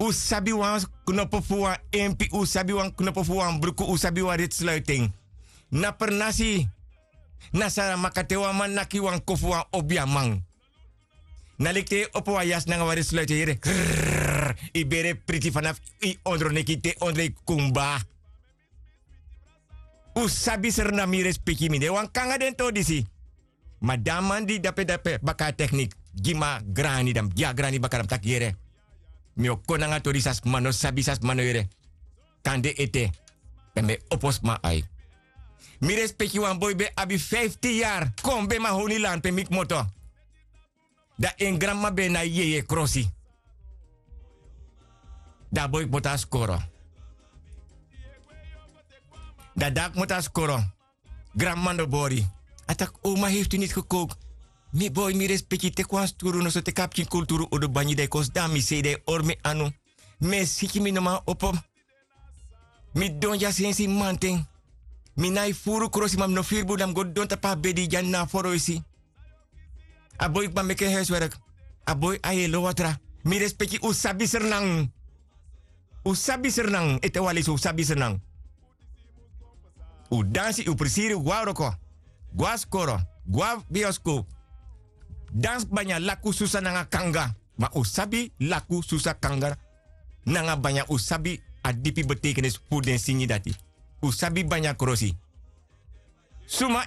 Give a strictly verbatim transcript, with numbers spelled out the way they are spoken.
Un sabi wan knopo fu wan empi, un sabi wan knopo fu wan bruku, un sabi wan ritsluiten. Na pernasi, na saramaka te wan man naki wan ko fu wan obiaman. Na leki te yu opo wan yasi nanga wan ritsluiten yere. Yu bere priti fanafu yu ondroneki te ondro yu kumba. Un sabi sernami, respeki mi de wan kanga den to disi. Ma dan man di dape dape baka a teknik, gi mi a grani dan mi gi a grani baka dan mi taki yere. Mi o kon nanga tori san sma no sabi, san sma no yere. Kande ete, pe mi e opo sma ai. Mi respeki wan boi ben abi fiftin yari kon ben mahoni lan pe mi kmoto. Dan en granmama ben na yeye krosi. Dan a boi kmoto a skoro. Dan dan a kmoto a skoro. Granmama no bori. A taki o ma hefti niti gekoki. Mi boi mi respeki teki wan sturu noso teki a pikin kulturu udu banyi dan yu kon sidon na mi sei dan yu hori mi anu. Mi e siki mi no man opo. Mi don dya sensi manten. Mi nai furu krosi ma mi no firi bun dan mi go don tapu a bedi dya na a foroisi. A boi kba meki en huiswerk. A boi a yelo watra. Mi respeki un sabi sernang. Un sabi sernang ete wan lesi un sabi sernang. Un dansi un prisiri un go na wroko, go na skoro, go na bioskop. Dansi banya laku susa nanga kanga. Ma un sabi laku susa kanga nanga banya un sabi a dipi betekenisi fu den singi dati. Un sabi banya krosi. Suma